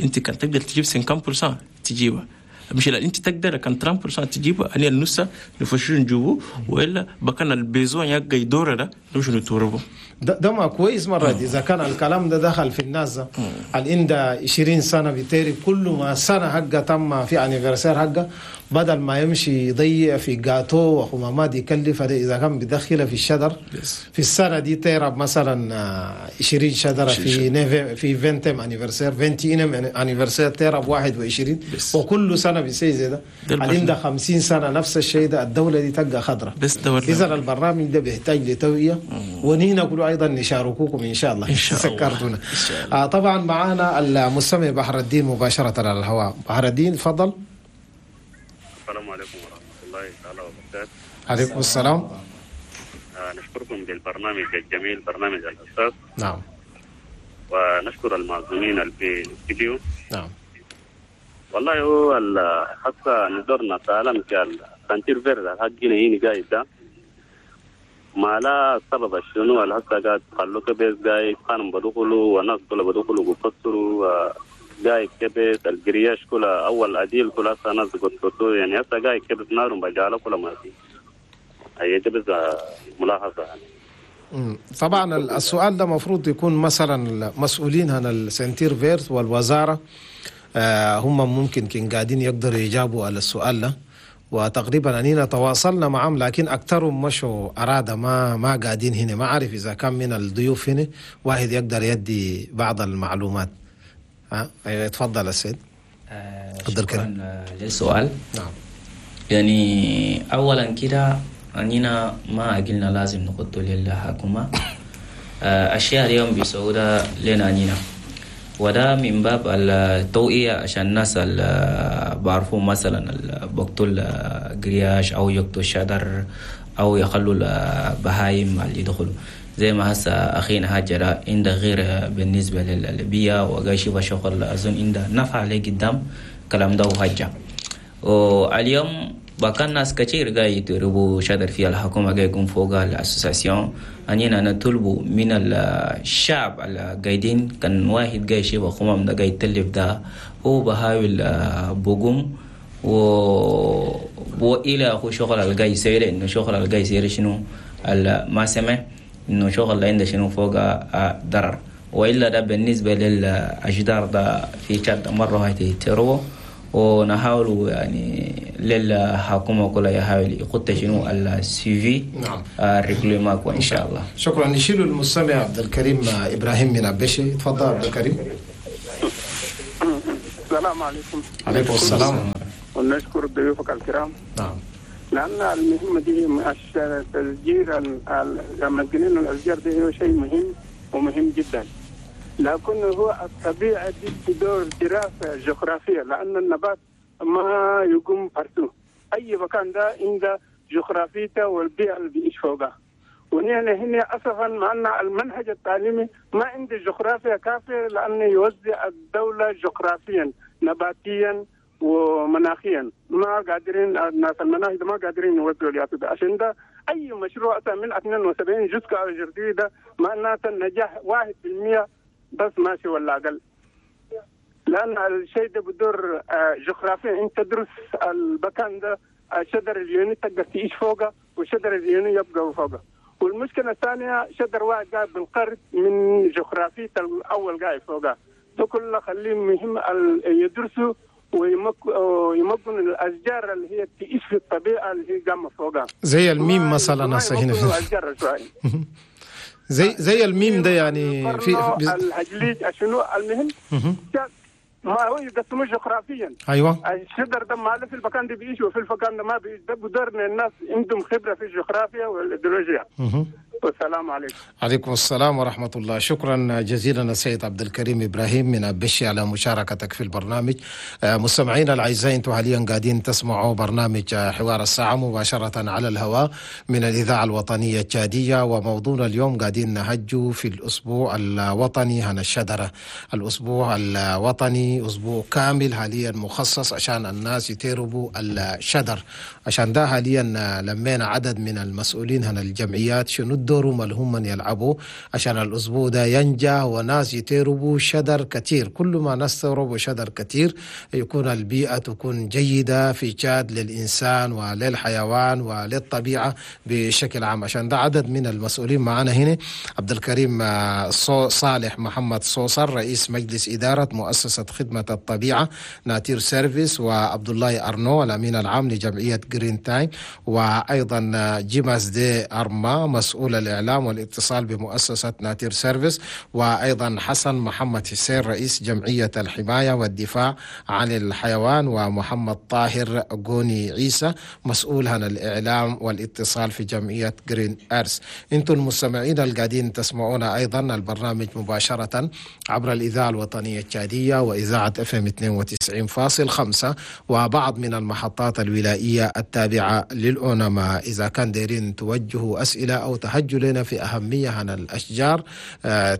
انت كان تقدر تجيب 50% تجيبها، مش لا انت تقدر كان 30% تجيبها، انا النص نفتشوا نجيبه، والا بكان ال besoin يبقى يدور ده نمشي نتوربه. ده ما كويس مرة دي. إذا كان الكلام ده دخل في الناس الإن ده 20 سنة بيتيري كل ما سنة حقه تم في anniversaire حقه بدل ما يمشي يضيع في جاتو وخمامات يكلف، إذا كان بدخله في الشجر في السنة دي تيرب مثلا 20 شجرة في 20 anniversaire 21 anniversaire تيرب 21 وكل سنة بيصير زي ده. الإن ده 50 سنة نفس الشيء ده، الدولة دي تبقى خضرة. إذا البرنامج ده بيحتاج لتوعية ونحن كله أيضا نشاركوكم إن شاء الله. إن شاء الله. سكرتونا. طبعا معنا المستمع بحر الدين مباشرة على الهواء. بحر الدين تفضل.
السلام عليكم ورحمة الله تعالى وبركاته.
عليكم السلام.
نشكركم بالبرنامج الجميل، برنامج الأساس.
نعم.
ونشكر المعزومين في الاستديو.
نعم.
والله هو حتى ندورنا تعلم كال ceinture verte حقنا هنا قاعد ده ما لا سبب شنو هسه قاعد خلوه كبيس قاعد كانوا بدخلوا وناس كلها بدخلوا وبفسروا قاعد كبيس ال grillage كلها اول اديل كلها هسه ناس قلتوا يعني هسه قاعد كبيس نار بجاله كلها ما في اي بس ملاحظة يعني.
طبعا السؤال ده مفروض يكون مثلا المسؤولين عن ال ceinture verte والوزارة هم ممكن كان قاعدين يقدروا يجابوا على السؤال ده، وتقريبا أننا تواصلنا معهم لكن أكثرهم مشوا أرادة ما قاعدين هنا. ما أعرف إذا كان من الضيوف هنا واحد يقدر يدي بعض المعلومات. ها تفضل السيد.
شكرا للسؤال.
نعم.
يعني أولا كده أننا ما قلنا لازم نقول للحكومة أشياء اليوم بيسعودها لنا أننا، وده من باب التوعية عشان الناس اللي بعرفوا مثلا بقتل grillage أو يقتلوا الشجر أو يخلوا البهايم اللي يدخلوا زي ما هسه أخينا هاجر عنده غير بالنسبة للبيئة وقاعد يشوف شغل أظن عنده نفع عليه قدام كلام ده وهجة. واليوم بكان ناس كتير قاعد يتربوا شجر في الحكومة قاعد يكون فوق ال association أننا نطلبوا من الشعب القاعدين كان واحد قاعد يشوف خمام ده قاعد يتلف ده هو بحاول بقوم وإلى هو شغل القاعد يسير إنه شغل القاعد يسير شنو ما سمع إنه شغل اللي عنده شنو فوق ضرر، وإلا ده بالنسبة للأشجار ده في تشاد مرة هاي تروه ونحاول يعني للحكومة كلها يحاول يخط شنو ال suivi.
نعم.
ال règlement إن شاء الله.
شكرا. نشيل المستمع عبد الكريم إبراهيم من أبشي. تفضل عبد الكريم.
السلام عليكم.
عليكم السلام.
ونشكر ضيوفك الكرام.
نعم.
لأن المهمة دي تشجير المجنين الأشجار دي هو شيء مهم ومهم جدا، لكن هو الطبيعة دي تدور دراسة جغرافية، لأن النبات ما يقوم فرسه أي مكان ده عنده جغرافيته والبيئة اللي بيعيش فوقها. ونحن هنا أسفا مع أن المنهج التعليمي ما عنده جغرافيا كافية، لأنه يوزع الدولة جغرافيا نباتيا ومناخيا، ما قادرين الناس المناهج ما قادرين يوزعوا الياتو ده. عشان ده أي مشروع من 72 جزء جديدة معناته النجاح 1% بس ماشي ولا أقل، لأن الشيء ده بدور جغرافيا. أنت تدرس المكان ده شجر اليوني تقدر تعيش فوقه وشجر اليوني يبقى فوقه. والمشكلة الثانية شجر واحد قاعد بالقرد من جغرافية الأول قاعد فوقه، ده كله خليه مهم يدرسوا ويمكن الأشجار اللي هي تعيش في الطبيعة اللي هي قامة فوقها
زي الميم مثلا هسه هنا زي الميم ده يعني
في الهجليج شنو المهم ما هو يقسموه جغرافيا.
ايوه
الشجر ده ما في المكان ده بيعيش وفي المكان ده ما بيعيش، ده بدورنا الناس عندهم خبره في الجغرافيا والايديولوجيا. والسلام عليكم.
عليكم السلام ورحمة الله. شكرا جزيلا السيد عبد الكريم إبراهيم من أبشي على مشاركتك في البرنامج. مستمعينا الأعزاء، أنتم حاليا قاعدين تسمعوا برنامج حوار الساعة مباشرة على الهواء من الإذاعة الوطنية التشادية، وموضوعنا اليوم قاعدين نهجوا في الأسبوع الوطني هنا الشجرة. الأسبوع الوطني أسبوع كامل حاليا مخصص عشان الناس يتربوا الشجر. عشان ده حاليا لمينا عدد من المسؤولين هنا الجمعيات شنو الدور ما هم من يلعبوا عشان الأسبوع ده ينجح وناس يتربوا شجر كثير. كل ما ناس تربوا شجر كثير يكون البيئة تكون جيدة في تشاد للإنسان وللحيوان وللطبيعة بشكل عام. عشان ده عدد من المسؤولين معنا هنا: عبد الكريم صالح محمد صوصر رئيس مجلس إدارة مؤسسة خدمة الطبيعة Nature Service، وعبد الله أرنو الأمين العام لجمعية Green Time، وأيضا جيماس دي أرما مسؤول الإعلام والاتصال بمؤسسة Nature Service، وأيضا حسن محمد حسين رئيس جمعية الحماية والدفاع عن الحيوان، ومحمد طاهر غوني عيسى مسؤول عن الإعلام والاتصال في جمعية Green Earth. أنتم المستمعين القاعدين تسمعونا أيضا البرنامج مباشرة عبر الإذاعة الوطنية التشادية وإذاعة FM 92.5 وبعض من المحطات الولائية التابعة للأونما. إذا كان دايرين توجهوا أسئلة أو تهجوا لنا في أهمية عن الأشجار،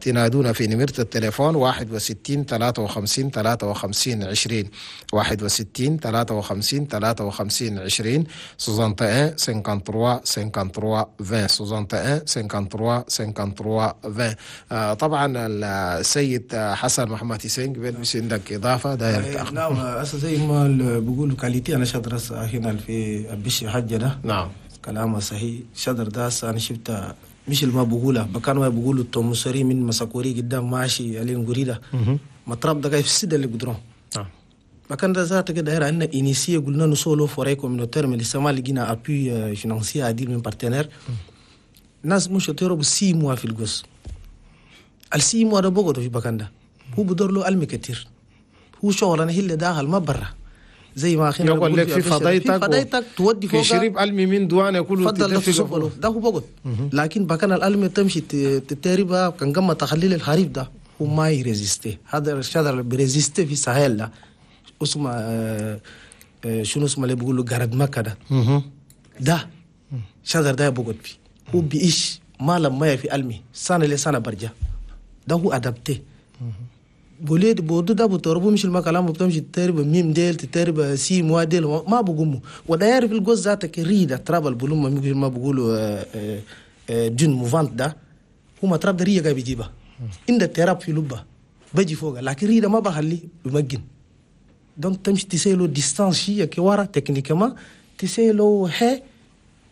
تنادونا في نمرة التليفون 61 53 53 20، 61 53 53 20، 61 53 53 20، 61 53 53 20. طبعا السيد حسن محمد حسين قبل مش عندك إضافة داير؟
نعم، أصلا زي ما بيقولوا qualité أنا شجرة هنا في أبشي حجة ده.
نعم
كلامه صحيح. شجر ده أنا شفتها مش اللي ما بقوله بكان ما بقولوا التومسوري من مساكوري قدام ماشي علين قريدة مطرب ده في السيدة اللي قدرون.
نعم
مكان ده ذاته كده داير عندنا initié قلنا نسولو forêt communautaire من لسه ما لقينا appui financier عديل من partenaire. ناس مش تيرو ب six mois في الجوز ال six mois ده بقعدوا في بكان ده هو بدور له ألم كتير، هو شغل أنا هي اللي داخل ما برا زي ما اخينا
يقول لك في فضيتك
تودي فوق
في شريب ألمي من دوانه كله
تفضل ده ده هو بقعد. لكن بكان الألمي تمشي تتربى كان قمة تخليل الخريف ده هو ما ي résister. هذا الشجر اللي بي résister في ساحل ده اسمه شنو اسمه اللي بيقولوا جرد مكة ده ده شجر ده بقعد فيه هو بيعيش ما لما في ألمي سنة لسنة برجع ده هو adapté. بوليد بودو ده بتربو مش المكلام بتمشي تترب ميم ديل تترب six mois ديل ما بقوموا وده يعرف الجوز ذاتك ريدة تراب البلوم ما بقولوا dune mouvante ده هو ما تراب ده ريا جاي بيجيبها إن ده تراب في لبة بيجي فوق لكن ريدة ما بخلي بمجن donc تمشي تسيلو distance شيء كوارا techniquement تسيلو هي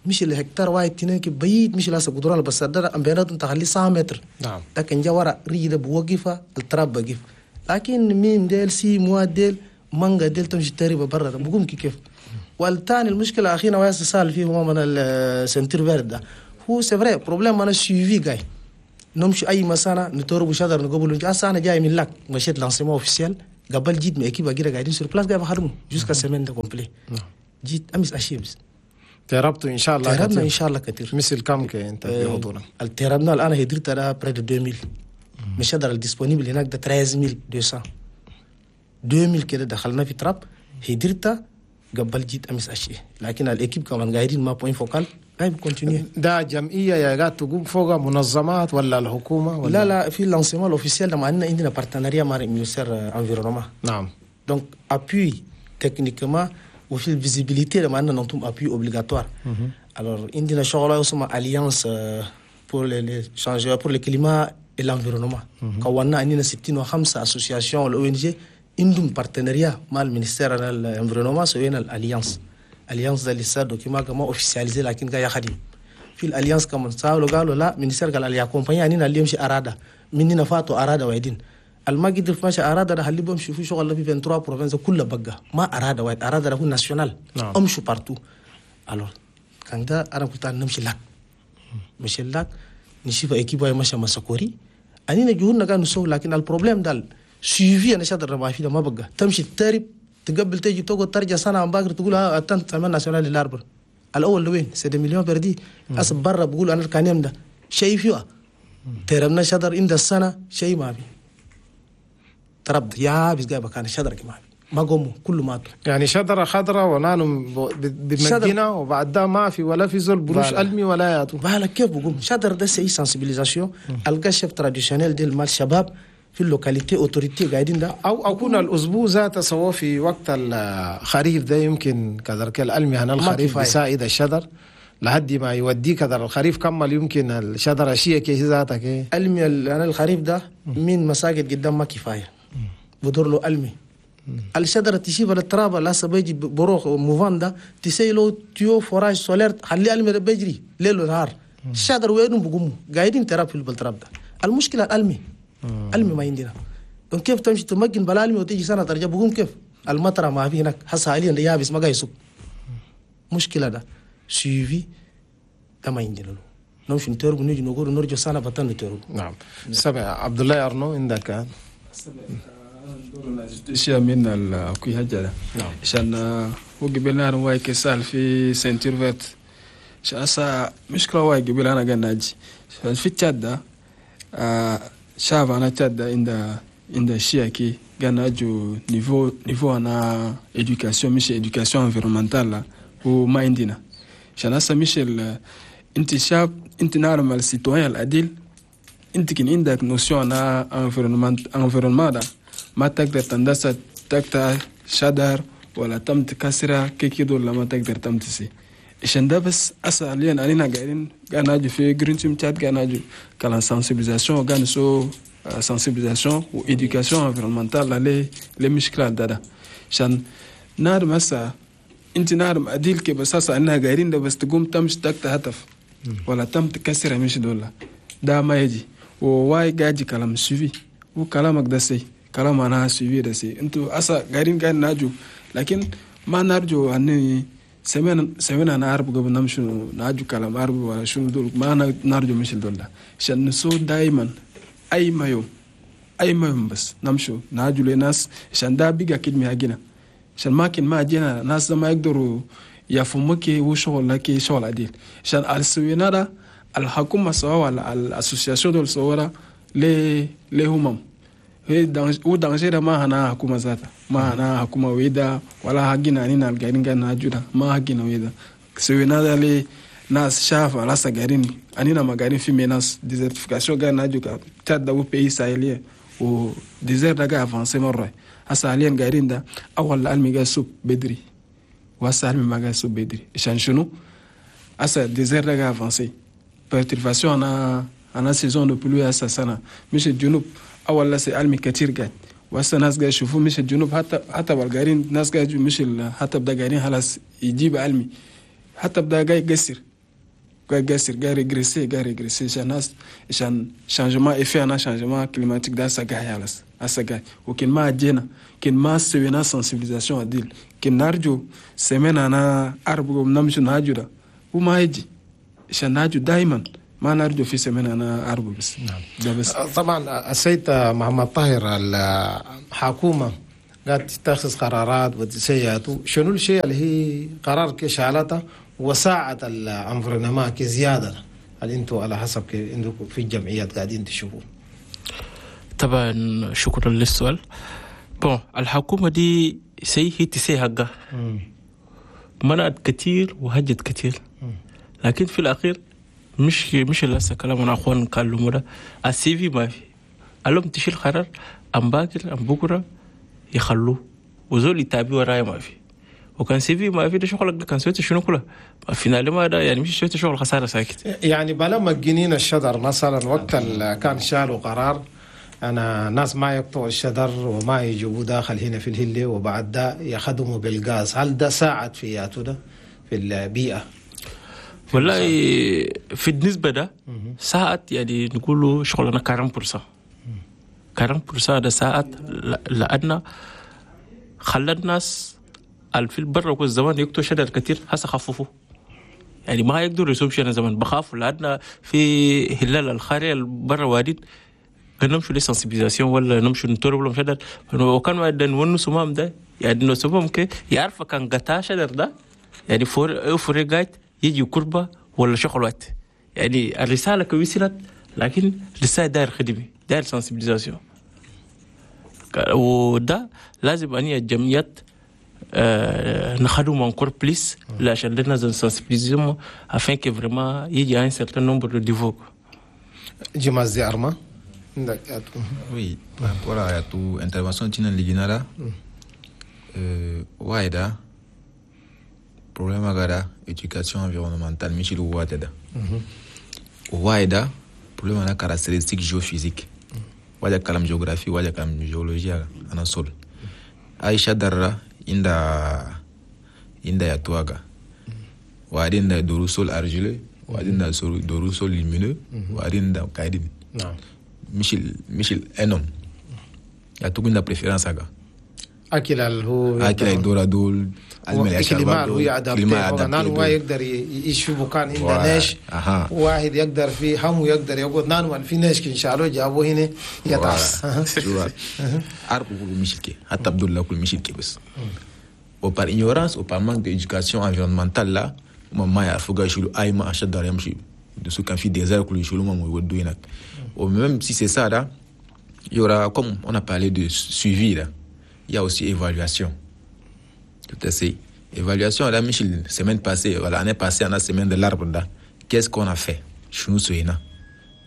مش الهكتار واحد تنين كبيت مش لاسا قدران بس ده أمبينات تخلي 100 متر.
نعم
لكن جوارا ريدة بوقفة التراب بقف لكن ميم ديل six mois ديل مانجا ديل تمشي تريبا برا بقوم كيف. والثاني المشكلة أخينا وياس سال فيه هو من ال ceinture verte ده هو c'est vrai problème أنا suivi جاي نمشي أي مسانة نتورب شجر نقبل أصلا أنا جاي من Lac مشيت lancement officiel قبل جيت من équipe كده قاعدين sur place قاعد بخدمه jusqu'à semaine ده complet. جيت أمس أشيبس
تربتوا إن شاء الله.
تربنا إن شاء الله كثير.
مثل كم أنت بحضورنا؟
تربنا الآن هدرت على près de 2000 مش هدر ال disponible هناك ده 13200 2000 كده دخلنا في تراب هدرتا قبل جيت أمس أشي لكن ال équipe كمان قاعدين ما point focal قاعد continuer.
ده جمعية يا قاعد تقوم فوق منظمات ولا الحكومة ولا؟
لا لا في lancement officiel لما عندنا partenariat مع ministère environnement.
نعم
donc appui techniquement وفي ال visibilité لما عندنا ننتم appui obligatoire. alors عندنا شغله اسمها alliance pour les changements pour le climat et l'environnement. كونا عندنا 65 associations وال ONG عندهم partenariat مع ال ministère ال environnement سوينا ال alliance. alliance ده لسه document كما officialisé لكن قاعد يخدم في ال alliance كمان سالوا قالوا لا ministère قال علي accompagner عندنا اللي يمشي اراده مننا فاتوا اراده وايدين الما قدر ماشي اراده ده خلي بمشي في شغل في 23 provinces كله بقى ما اراده واحد اراده ده هو national.
نعم.
امشوا partout. alors كان ده انا كنت نمشي Lac مشي Lac نشوف équipe ماشي مسكوري انينا جهودنا كانوا نسوي لكن ال problème ده suivi انا شاطر ما في ده ما بقى تمشي تترب تقبل تيجي تقعد ترجع سنه عم باكر تقول atteinte semaine nationale l'arbre الاول لوين c'est des millions perdus. أس برا بقول انا الكانيم ده شيء فيها ترمنا شجر عند السنة شيء ما في تربد يا بس جايبه كان شجر ما في ما قوموا كله ماتوا.
يعني شجرة خضراء ونانو بمدينة وبعد ده ما في ولا في زول بروش ألمي ولا ياتو
بالك كيف بقوم شجر ده c'est sensibilisation القى chef traditionnel ديل مال شباب في ال localité autorité قاعدين ده
او اكون الاسبوع ذاته سوا في وقت الخريف ده يمكن كذلك الألمي هنا الخريف بيساعد الشجر لحد ما يودي كذا الخريف كمل يمكن الشجرة شيء كي ذاتك
ألمي انا الخريف ده من مساجد قدام ما كفاية بدور له ألمي الشجرة تشيب التراب لا بيجي بروح موفان ده تسيلو tuyau forage solaire خلي ألمي ده بيجري ليل ونهار الشجر وين بقوموا قاعدين تراب في التراب ده. المشكلة الألمي ألمي ما عندنا. كيف تمشي تمكن بلا ألمي وتيجي سنة ترجع بقوم كيف المطرة ما في هناك حس حاليا يابس ما قاعد يسوق. مشكلة ده suivi ده ما عندنا له نمشي نترب نيجي نقول نرجع سنة بطن نترب.
نعم. سمع عبد الله أرنو عندك
اشياء من الكوي حاجة عشان هو قبلنا واي كسال في ceinture verte عشان هسه مشكلة واي قبل انا قاعد ناجي في تشاد ده شاف انا تشاد ده عند الشيء كي قاعد ناجو niveau انا éducation مش éducation environnementale وما عندنا عشان هسه مش انت شاب انت نعلم ال citoyen العديل انت كان عندك notion انا environnement ده ما تقدر تندسة تقطع شجر ولا تم تكسرها كي كده ولا ما تقدر تم تسي عشان ده بس أسا علينا قاعدين قاعد ناجو في Green Team Tchad قاعد ناجو كلام sensibilisation قاعد نسو sensibilisation و éducation environnementale لي مشكلة ده عشان نار مسا انت نار أديل كي بس أسا إنها قاعدين ده بس تقوم تمشي تقطع هتف ولا تم تكسرها مش دولة ده ما يجي وواي قاعد كلام suivi وكلامك ده سي كلام أنا suivi ده سي أنتوا أسا قاعدين قاعد ناجو لكن ما نرجو أني سمعنا أنا عرب قبل نمشي ناجو كلام عرب ولا شنو دول ما نرجو مش دول عشان نسو دائما أي ما يوم بس نمشوا ناجو لناس عشان ده بيجا كده مهاجنا عشان ما كان ما جينا ناس ما يقدروا يفهموا كي وشغل لكي شغل عديل عشان السوينا ده الحكومة سوا ولا ال association دول سوا ليه همم و danger ما هنا حكومة ذاتها ما هنا حكومة ويدا ولا حقنا أننا القاعدين قاعدين ناجودا ما حقنا ويدا سوينا ده لي ناس شاف على سجارين أننا ما قاعدين في menace désertification قاعدين ناجوكا تشاد ده pays sahéliens و désert ده قاعد avancer مرة هسا حاليا قاعدين ده أول العلم قاعد سوب بدري وهسا العلم ما قاعد سوب بدري عشان شنو هسا désert ده قاعد avancer perturbation أنا saison de pluie هسا سنة مش الجنوب أول لسه علمي كتير قاعد وهسه ناس قاعد يشوفوا مش الجنوب حتى بالقارين ناس قاعد مش حتى بدا قاعدين خلاص يجيب علمي حتى بدا قاعد يقصر قاعد régresser عشان ناس عشان changement effet أنا changement climatique ده هسه قاعد خلاص هسه قاعد وكن ما جينا كن ما سوينا sensibilisation عديل كن نرجو سمعنا أنا أربع نمشي نهاجو ده وما يجي عشان نهاجو دايما ما نرجو في سمنا أنا أربو بس.
نعم.
ده بس.
طبعا السيد محمد طاهر الحكومة قاعد تتخذ قرارات وتسيئات شنو الشيء اللي هي قرار كشالته وساعة ال environnement كزيادة اللي انتوا على حسب عندكم في الجمعيات قاعدين تشوفوا؟
طبعا شكرا للسؤال. bon الحكومة دي سي هي تسي حقها منعت كتير وهجت كتير لكن في الأخير مش لسه كلام انا اخوان قالوا ده ال suivi ما في قالهم تشيل قرار ام باكر ام بكره يخلوه وزول يتابع وراي ما في وكان suivi ما في ده شغلك كان سويت شنو كله ما في ما ده يعني مش سويت شغل خسارة ساكت.
يعني بلا مجنين الشجر مثلا وقت كان شالوا قرار انا ناس ما يقطعوا الشجر وما يجيبوه داخل هنا في الهله وبعد ده يخدموا بالغاز، هل ده ساعد في ده في البيئة؟
والله في النسبة ده ساعات يعني نقوله شغلنا 40% 40% ده ساعات لأن خلى الناس في البر والزمان يقطعوا شجر كتير هسه خففوا يعني ما يقدروا يسووا شيء زمان بخافوا لأن في هلال الخارج البر وادين نمشوا les sensibilisations ولا نمشوا نتورب لهم شجر وكان ما نونسوا مام ده يعني نسمهم كي يعرف كان قطع شجر ده يعني فور قاعد يجي كربة ولا شغل وقت يعني الرسالة وصلت، لكن لسه داير خدمة، داير sensibilisation، وده لازم أن الجمعيات نخدم encore plus عشان لنا sensibiliser afin que vraiment il y ait un certain nombre de niveaux.
جماز أرما.
Oui, par rapport à ton intervention تينا لقينا ده واحدة problème agada éducation environnementale مش الواحدة ده، واحدة problème أنا caractéristique géophysique، واجا كلام géographie، واجا كلام géologie. أنا sol أي شدرة inda ya tuaga وبعدين da doru sol argileux، وبعدين da doru sol limoneux، وبعدين da kaidin. مش ال un homme يعطوك la préférence هذا.
اكل اللي هو
اكل الدورة دول.
climat هو ي adapter، نان هو يقدر يعيش في مكان عنده ناش، واحد يقدر في هم يقدر يقعد نان في ناش كن شالو جابوه هنا يتعس.
arbre كل مشكلة، حتى عبد الله كل مشكلة، بس و par ignorance ou par manque d'éducation environnementale là ما يعرفوا يشيلوا اي ما اشد يمشي دسو كان في désert كل يشيلوا ما يودوا هناك. و même si c'est ça là، il y aura، comme on a parlé de suivi là، il y a aussi évaluation. Tout à fait. Évaluation là، مش semaine passée، voilà، l'année passée on a semaine de l'arbre là، qu'est-ce qu'on a fait؟ شنو سوينا؟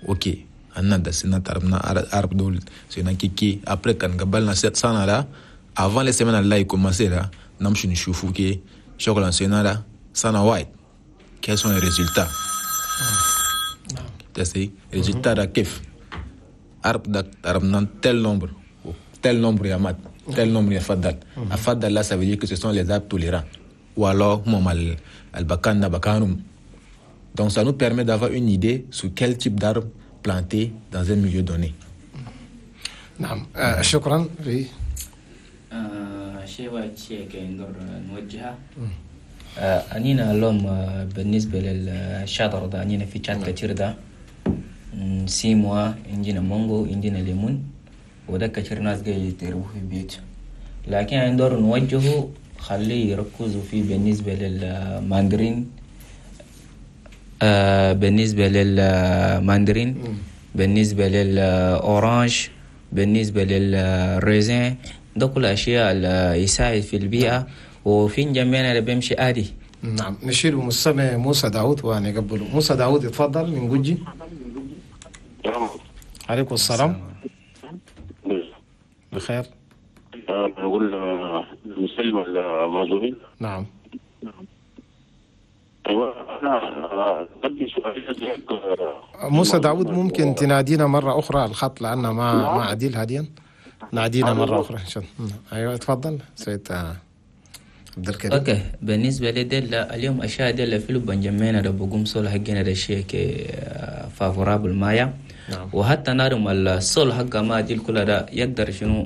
OK، أنا دسنا تربنا arbre دول سوينا كيكي، après كان قبلنا سنة là، avant les semaines là يكومنسي là، نمشي نشوفوا كي شغل سوينا là سنة واحد، quels sont les résultats؟ Tu résultats ده كيف arbre ده ضربنا tel nombre، tel nombre يا مات، tel nombre يفضل أفضل là، ça veut dire que ce sont les arbres tolérants ou alors هم البكان ده بكانهم. donc ça nous permet d'avoir une idée sur quel type d'arbre planter dans un milieu donné.
نعم، شكرا. في
شيء واحد، شيء نقدر نوجهه أنينا اليوم بالنسبة للشجر ده، أنينا في تشاد كتير ده سيموا، عندنا مانجو، عندنا ليمون، وده كتير ناس جاي يتربوه في البيت، لكن عندنا نوجهه خليه يركزوا فيه بالنسبة للماندرين، بالنسبة للماندرين، بالنسبة لل orange، بالنسبة لل raisin، ده كل أشياء اللي يساعد في البيئة وفي جميعنا اللي بيمشي عادي.
نعم، نشيل مستمع موسى داود ونقبله. موسى داود يتفضل من جوجي. عليكم السلام، بخير.
نقول نسلم الموضوعين.
نعم.
ايوه، انا عندي سؤال.
موسى داود، ممكن تنادينا مرة أخرى؟ الخط لأن ما عديل هاديا، نادينا مرة أخرى إن شاء الله. أيوة، تفضل سيد عبد الكريم.
OK، بالنسبة لديل اليوم اشياء ديل في بنجمينا ده بقوم sol حقنا ده شيء favorable مايا. وحتى نارم ال sol حقا ما ديل كل ده يقدر شنو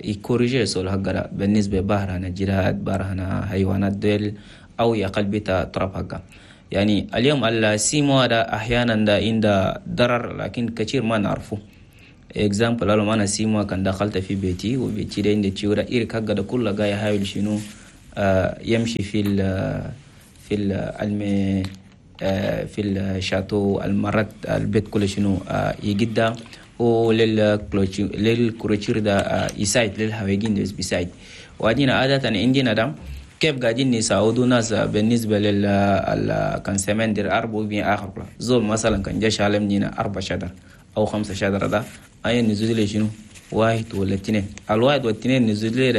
ي corriger sol حقا ده بالنسبة بهرنا جراد، بهرنا حيوانات ديل، او يقل بيتا تراب حقا. يعني اليوم السيمو ده احيانا ده عنده ضرر، لكن كثير ما نعرفه. exemple لو انا سيمو كان دخلت في بيتي، وبيتي ده عندي تيورا إيرك حقا ده كله جاي يحاول شنو يمشي في ال المي في ال château المرات البيت كله شنو يجدا ولل clôture ده يساعد للهواجين ده بيساعد. وعندنا عادة عندنا ده كيف قاعدين يساعدوا ناس بالنسبة لل كان semaine de l'arbre بين آخر زول مثلا كان جا شالم أربع شجر أو خمسة شجرة، ده أي نزول شنو واحد ولا اثنين، الواحد والاثنين نزول.